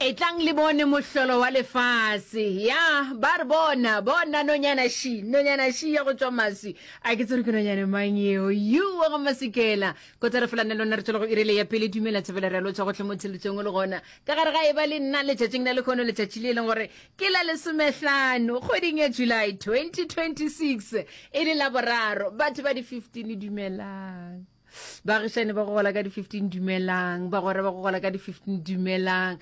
Etlang le bone mohlolo wa lefase. Ya, ba re bona, bona nonyana ši, nonyana ši ya go tšwa maswi. A ke tsere ke nonyane mang yeo? You wa go masikela. Kotara fela nna lona re tšwela go irele ya pele dumela thabela re a lotšha gohle mo theletšong o le gona. Ka gare ga e ba le nna letšatšing la lekhono letšatši le e leng gore ke la lesomehlano kgweding ya July 2026 e le la boraro. Batho ba di 15 dumelang. Baagišani ba go gola ka di-15 dumelang. Bagwera ba go gola ka di-15 dumelang.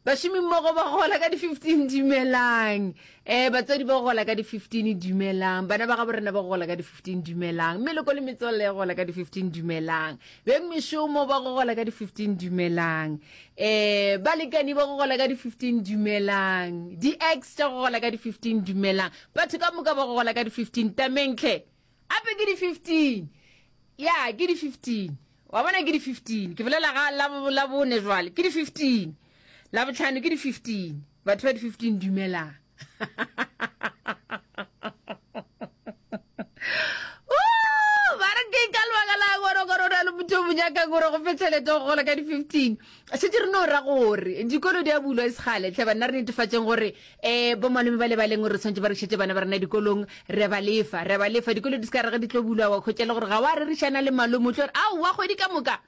Bašomimmogo ba go gola ka di-15 dumelang. Um batswadi ba go gola ka di-15 dumelang. Bana ba gabo rena ba go gola ka di-15 dumelang. Meloko le metswalle ya go gola ka di-15 dumelang. Beng mešomo ba go gola ka di-15 dumelang. Um balekani ba go gola ka di-15 dumelang. Di-ex tša go gola ka di-15 dumelang. Batho ka moka ba go gola ka di-15 tameng hle. Ape ke di 15. Ya, ke di 15. Wa bona ke di 15. Ke bolela ga la la bone jwale. Ke di 15. La botlhano ke di 15. Batho ba di 15 dumelang. Ba re ke ka lebaka la gore gore o na le motho o mo nyakang gore go fe tšhelete go gola ka di 15. Šetše re no ra gore dikolo di a bulwa e segale tlhe banna re netefatšeng gore um bomalome ba le ba leng gore re tshwanetse ba re šetše bana ba rena dikolong re ba lefa re ba lefa dikolo di se ka re ge di tlo bulwa wa khwetša le gore ga wa rerišana le malome o tlo re aowa kgwedi ka moka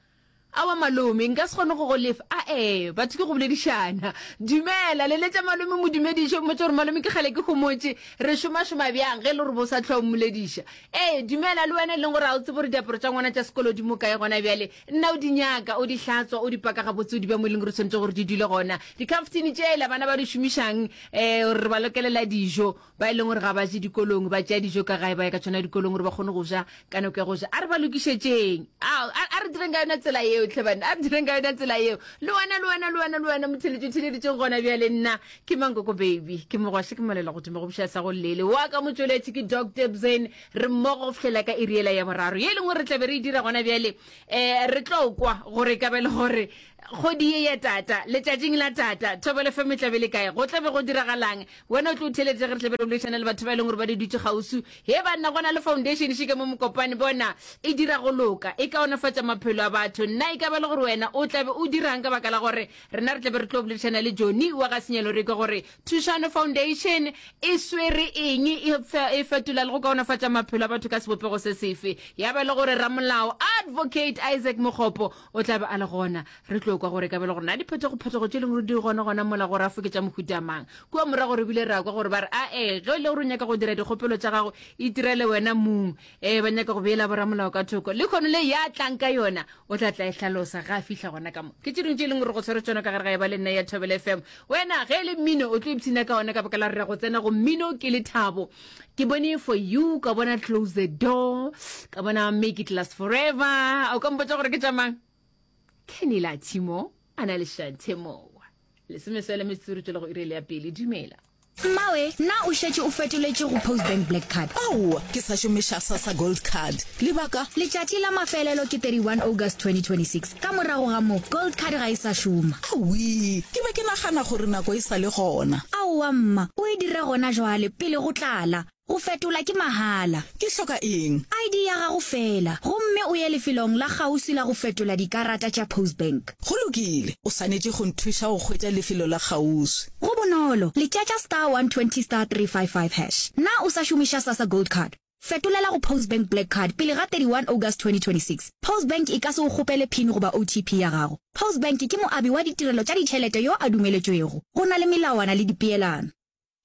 aowa malome nka se kgone go go lefa ae batho ke go boledišana dumela leletša malome mo dumediše o mmotse gore malome ke kgale ke homotše re šomašoma bjang ge e le gore bo sa tlhoa o mmolediša ee dumela le wena e leng gore ga o tsebe gore diaparo tša ngwana tša sekolo di mo kae gona bjale Nna o di nyaka, o di hlatswa, o di paka gabotse, o di bea mo e leng gore tshwanetse gore di dule gona. Dikhaftini tšela bana ba di šomišang um gore re ba lokelela dijo, ba e leng gore ga ba je dikolong, ba tšea dijo ka gae ba ya ka tšona dikolong gore ba kgone go ja ka nako ya go ja. A re ba lokišetšeng. A, a, a re direng ka yona tsela yeo, tlhe banna, a re direng ka yona tsela yeo. Le wena, le wena, le wena, le wena, motheletši o theleditšeng gona bjale, nna ke Mankoko Baby, ke mogwaše, ke molela godimo go buša sa go llele. Wa ka motšweletši ke Doc Debzen. Re mmogo go fihlela ka iri yela ya boraro, ye e leng gore re tla be re e dira gona bjale. Um re tlo kwa gore e ka ba e le gore kgwedi ye ya tata, letšatšing la tata, Thobela FM e tla be le kae, go tla be go diragalang. Wena o tlo o theeletša ge re tla be re boledišana le batho ba e leng gore ba di dutše kgauswi. He banna, go na le foundation še ka mo Mokopane, bona, e dira go loka, e kaonafatša maphelo a batho. Nna e ka ba le gore wena o tla be o dirang ka baka la gore rena re tla be re tlo boledišana le Johnny wa ga Senyalo re kwe gore Thušano Foundation e swere eng, e, e fetola le go kaonafatša maphelo a batho ka sebopego se sefe? Ya ba le gore ramolao Advocate Isaac Mokgopo o tla be a le gona. Re tlo kwa gore e ka ba le gore na diphetogo-phetogo tše leng gore di gona gona mola go rafo ke tša mohuta mang. Kua morago re bile ra kwa gore ba re ae, ge e le gore o nyaka go dira dikgopelo tša gago, itirele wena mong. Ee, ba nyaka go beela boramolao ka thoko. Lehono le ya tlang ka yona, o tla tla e hlalosa ge a fihla gona ka mo. Ke tše dingwe tše e leng gore go tshwere tšona ka gare ga e ba le nna ya Thobela FM. Wena ge e le mmino o tlo ipshina ka ona ka baka la re go tsena go mmino ke lethabo. Ke bone for you, ka bona close the door, ka bona make it last forever. O ka mpotša gore ke tša mang? Kenny Latimo a na le Shante Mowa. Lesomeswele metsotso re tšwela go iri ya pele. Dumela. Mmawe, na o šetše o fetoletše go Postbank Black Card? Aowa, ke sa šomiša Sassa Gold Card. Lebaka? Letšatši la mafelelo ke 31 August 2026. Ka morago ga moo, Gold Card ga e sa šoma. Awii, ke be ke nagana gore nako e sa le gona. Aowa mma, o e dire gona jwale, pele go tlala. Go fetola ke mahala. Ke hloka eng? ID ya gago feela, gomme o ye lefelong la kgauswi la go fetola dikarata tša Postbank. Go lokile, o swanetše go nthuša go hwetša lefelo la kgauswi. Go bonolo, letšatša star 120 star 355 hash. Na o sa šomiša Sassa Gold Card? Fetolela go Postbank Black Card pele ga 31 August 2026. Postbank e ka se o kgopele pin goba OTP ya gago. Postbank ke moabi wa ditirelo tša ditšhelete yo a dumeletšwego. Go na le melawana le dipeelano.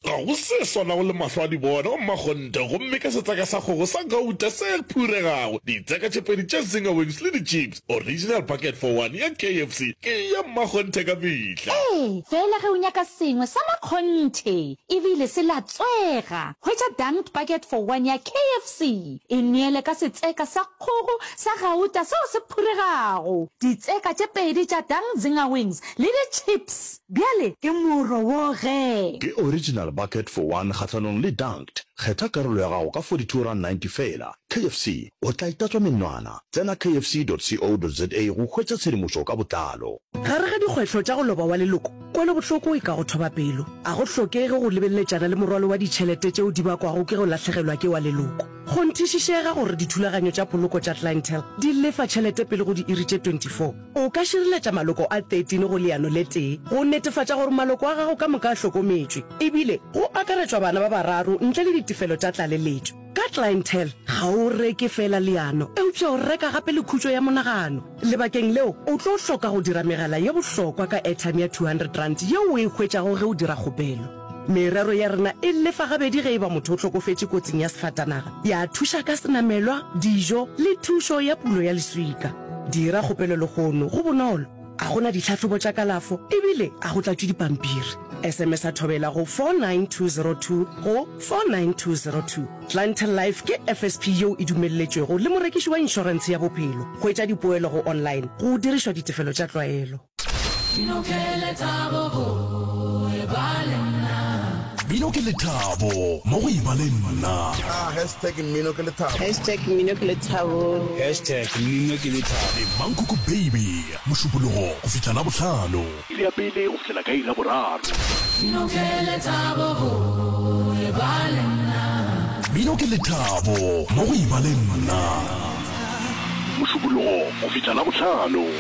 Ga go se swanago le mahlo a di bona, o mmakgonthe, gomme ka setseka sa kgogo sa gauta se phuregago, ditseka tše pedi tša Zinger Wings le di-chips, original bucket for one ya KFC ke ya mmakgonthe ka mehla. Ee, feela ge o nyaka sengwe sa makgonthe e bile se latswega, hwetša Dunked Bucket for One ya KFC. E neele ka setseka sa kgogo sa gauta seo se phuregago, ditseka tše pedi tša Dunked Zinger Wings le di-chips. Bjale ke moro wo ge. Ke original bucket for one kgahlanong le dunked. Kgetha karolo ya gago ka R42.90 feela. KFC, o tla e tatswa menwana. Tsena kfc.co.za go hwetša tshedimošo ka botlalo. Gare ga dikgwetlho tša go loba wa leloko, kwelobohloko e ka go thoba pelo. A go hlokege go lebeleletšana le morwalo wa ditšhelete tšeo di bakwago ke go lahlegelwa ke wa leloko. Kgonthišišega gore dithulaganyo tša poloko tša Clientele di lefa tšhelete pele go diiri tše 24. O ka šireletša maloko a 13 go leano le tee go netefatša gore maloko a gago ka moka a hlokometšwe, ebile go akaretšwa bana ba bararo ntle le ditefelo tša tlaleletšo. Ka Clientele, ga o reke feela leano, eupša o reka gape le khutšo ya monagano. Lebakeng leo, o tlo hloka go dira megala ye bohlokwa ka airtime ya R200 yeo o e hwetšago ge o dira kgopelo. Merero ya rena e lefa gabedi ge e ba motho o hlokofetše kotsing ya sefatanaga, ya thuša ka senamelwa, dijo le thušo ya pulo ya leswika. Dira kgopelo lehono, go bonolo, a go na ditlhahlobo tša kalafo ebile a go tlatšwe dipampiri. SMS-a Thobela go 49202 go 49202. Clientele Life ke FSP yeo e dumelletšwego le morekiši wa inšorentshe ya bophelo. Hwetša dipoelo go online go dirišwa ditefelo tša tlwaelo. Mmino ke lethabo go eba le nna. Mmino ke lethabo mo go eba le nna. Ah, hashtag mmino ke lethabo. Hashtag mmino ke lethabo. Hashtag mmino ke lethabo. Le Mankoko Baby, Mošupologo go fihla Labohlano. Iri ya pele go fihlela ka iri ya boraro. Mmino ke lethabo go eba le nna. Mmino ke lethabo mo go eba le nna. Mošupologo go fihla Labohlano.